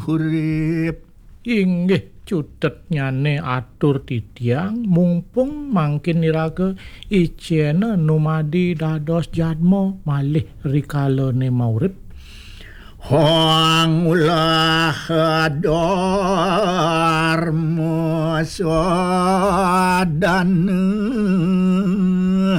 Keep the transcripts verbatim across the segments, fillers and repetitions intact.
urip. Inggih, cutetnyane atur titiang, mumpung mangkin iraga icena numadi dados jadma malih rikalane maurip. Hong ulah dharma sadana.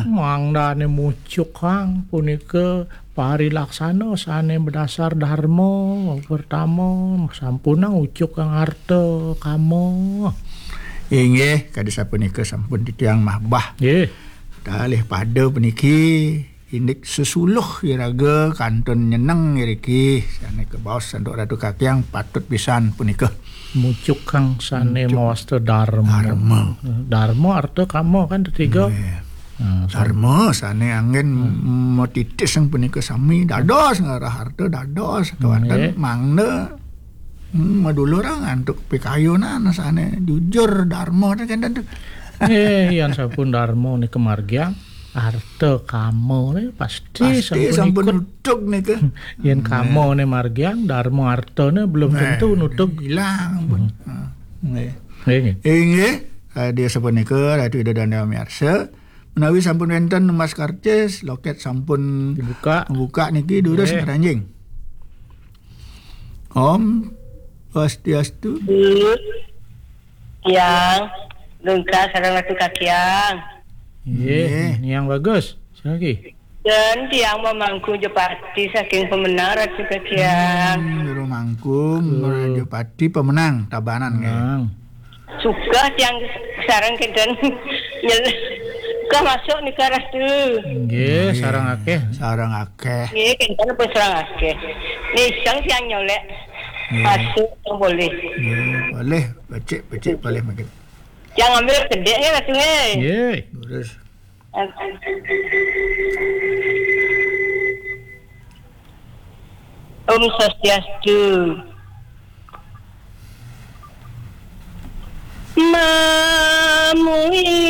Mangdane mucukang punika parilaksana sane madasar dharma. Pertama, sampunang ucukang arta kama. Inggih, kadi sapunika sampun titiang mabah. Nggih. Kalih pada puniki indik sesuluh iraga kantun nyeneng iriki. Sane kabaos antuk Ratu Kakiang patut pisan punika. Mucukang sane Mucuk. Mawasta dharma. Dharma. Dharma arta kama kan tetiga. Nggih. Hmm, dharma sane anggen hmm. Matitis yang punika sami dados ngarah arta dados kewanten nggih. Mangda hmm, madulurang antuk pikayunan sane jujur dharma ten kenten tu. Eh, yang sampun dharma nika margiang arta kama ne pasti pasti sampun sampun ikut. Nutug nika. Yen kama ne margiang dharma arta ne belum tentu nutug. Hilang pun. Hmm. Nggih. Nggih. Inggih, eh, dia sapunika Ratu Ida Dane Miarsa. Menawi sampun wenten emas karcis, loket sampun dibuka. Buka niki durus nggih. Ngranjing. Om Swastiastu. Yang lengkap sareng Ratu Kakiang. Nggih, nggih. Yang bagus. Sing lagi. Dan tiang memangku Jepati saking pemenang Ratu Kakiang. Hmm, Jero Mangku, Jepati pemenang Tabanan nggih. Menang. Suka tiang sareng kenten nyel. Suka masuk nika Ratu. Nggih, nggih. Sareng akeh. Sareng akeh. Nggih, kenten pun sareng akeh. Niseng tiang nyolek. Nggih. Masuk yang boleh. Nggih, boleh. Becik, becik boleh makin. Tiang ambil gedek nggih Ratu nggih. Nggih. Terus. Om Swastiastu. Mamui